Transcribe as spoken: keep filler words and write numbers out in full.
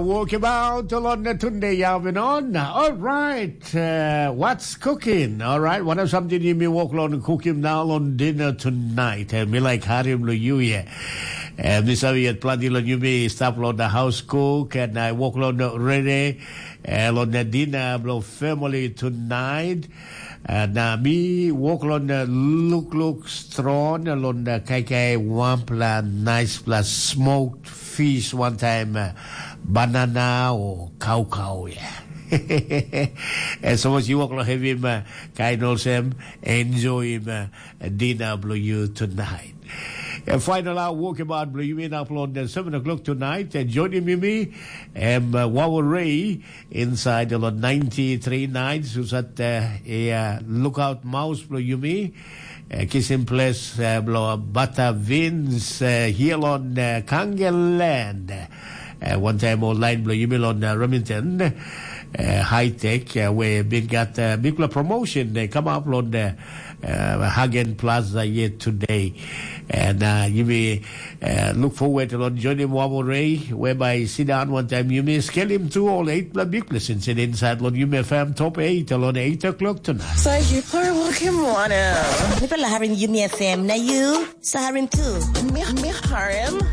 Walk about along the Tunde Yavin on. All right, uh, what's cooking? All right, what are something you may walk along cooking now on dinner tonight? Uh, me like Harim lo you, yeah. Uh, Miss Aviat Pladi lo you may stop on the house cook and I walk along the ready. Uh, on the dinner blo family tonight. Uh, na mi walk along the look look strong along the kai kai one pla nice pla smoked fish one time, uh, banana or cow cow, yeah. And so much you walk along have him, uh, kind of him, enjoy him, uh, dinner blo you tonight. And final out walk about blo you in up on the seven o'clock tonight. And joining me, me, um, uh, Wawa Ray inside the lot ninety-three nights who's at, uh, a, uh, lookout mouse blo you me. Uh, kissing place, uh, blo Bata Vince, uh, here on, uh, Kangeland. Uh, one time online blo you me on, uh, Remington. Uh, high tech, uh, where big got, uh, big promotion. They come up on the, uh, Hagen Plaza yet today. And, uh, you may, uh, look forward to Lord Johnny Wamo Ray, whereby sit down one time you may scale him to all eight blood big lessons in inside Lord you may fam top eight along eight o'clock tonight. Sa hipar wakim wana. Nipela harim Yumi F M na you sa harim tu. Mi, mi harim.